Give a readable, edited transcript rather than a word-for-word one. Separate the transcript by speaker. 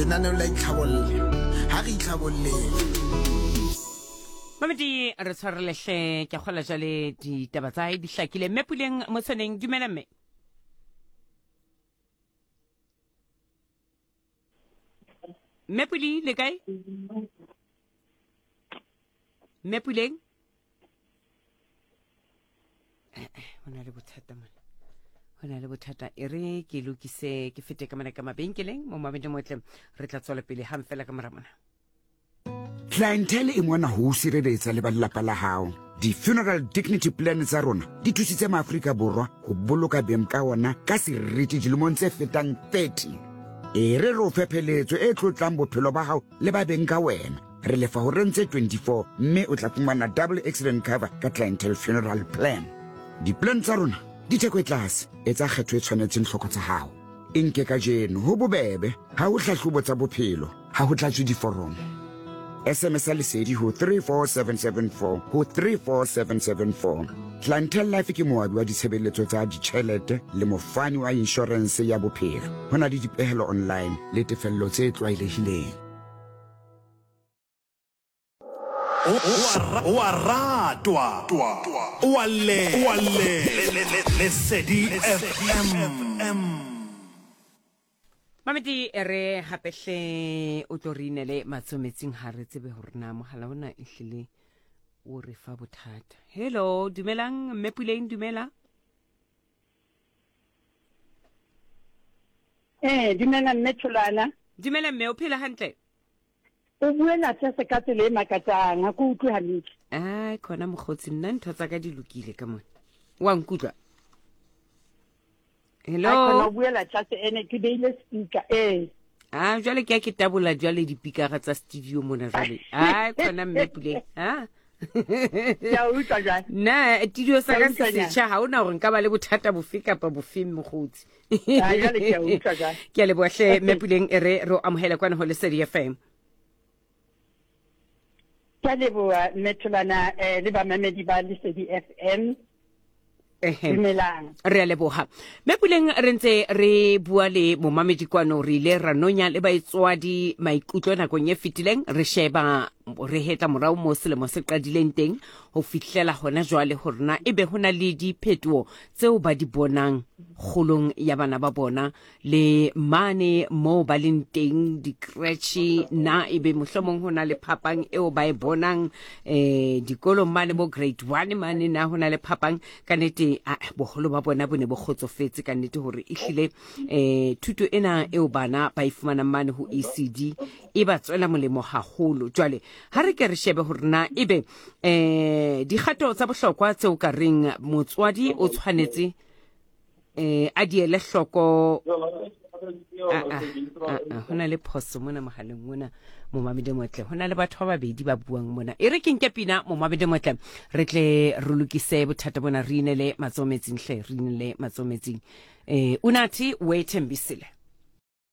Speaker 1: Lenaneo la itlhabolle. Ha re itlhabolleng.
Speaker 2: Mamedi re tshwarelehle ke kgola jale ditaba tsa hae di hlakile. Mme Puleng Motshweneng, dumela mme. Mme Puli le kae? Mme Puleng? Eh, eh, ho na le bothata mona. Ho na le bothata. E re ke lokise ke fete ka mona ka mabenkeleng mo mabedi motle re tla tswela pele hang fela ka mora mona.
Speaker 3: Clientele e mona ho o sireletsa le ba lelapa la hao. Di-funeral dignity plan tsa rona di thusitse maAfrika Borwa ho boloka beng ka ona ka seriti dilemong tse fetang 30. E re re o fe pheletso e tlotlang bophelo ba hao le ba beng ka wena. Re lefa horeng tse 24 mme o tla fumana double accident cover ka Clientele Funeral Plan. Di-plan tsa rona di theko e tlase, etsa kgetho e tshwanetseng tlhoko tsa hao. E nke kajeno, ho bobebe, ha ho hlahlobo tsa bophelo, ha ho tlatswe diforomo. SMS ya Lesedi ho 34774 ho 34774. Clientele Life ke moabi wa ditshebeletso tsa ditjhelete le mofani wa inshorense ya bophelo. Ho na le dipehelo online le tefello tse tlwaelehileng.
Speaker 4: O a ratwa, o a llela. Lesedi FM.
Speaker 2: Mamedi e re gape hle o tlo re inele matsoho metsing ga re tsebe gore na mogala ona e hlile o re fa bothata. Hello, dumelang mme Puleng, dumela.
Speaker 5: Eh, dumela mme Tholwana.
Speaker 2: Dumela mme, o phela hantle?
Speaker 5: O buela tlase ka tsela e makatsang, ha ke utlwe hantle.
Speaker 2: Ai, khona mokgotsi, nna ntho tsa ka di lokile ka mona. Wa nkutlwa? Hello.
Speaker 5: Ai, khona o buela tlase ene ke beile speaker. Ee.
Speaker 2: Ah, jwale ke a ke tabola jwale dipikara tsa studio mona jwale. Ai, khona mme Puleng. Ha?
Speaker 5: Ke a utlwa jwale.
Speaker 2: Nna studio sa
Speaker 5: Ke a
Speaker 2: ka se
Speaker 5: utlwa nyana.
Speaker 2: setjha ha ona hore nka ba le bothata bofe kapa bofe mokgotsi.
Speaker 5: Ah, jwale ke a utlwa jwale.
Speaker 2: Ke a leboha hle mme Puleng e re re o amohele kwana ho Lesedi FM.
Speaker 5: Ke a leboha mme Tholwana eh, le bamamedi ba Lesedi FM.
Speaker 2: Ehe.
Speaker 5: Dumelang.
Speaker 2: Re a leboha. Mme Puleng re ntse re bua le momamedi kwano re ile ra nonya le baitswadi maikutlo nakong e fetileng re sheba re hetla morao mo selemo se qadileng teng ho fihlela hona jwale hore na ebe ho na le diphetoho tseo ba di bonang kgolong ya bana ba bona le mane moo ba leng teng dikretšhe na ebe mohlomong ho na le phapang eo ba e bonang eh dikolong mane bo grade 1 mane na ho na le phapang ka nete boholo ba bona bo ne bo kgotsofetse ka nete hore ehlile eh thuto ena eo bana ba e fumanang mane ho ECD e ba tswela molemo haholo jwale ha re ke re shebe hore na ebe eh dikgato tsa bohlokwa tseo ka reng motswadi o tshwanetse eh a di ele hloko ho na le phoso mona mogaleng mona momamedi motle ho na le batho ba babedi ba buang mona e re ke nke pina momamedi motle re tle re lokise bothata bona re inele matsoho metsing hle re inele matsoho metsing eh unathi wethembisile.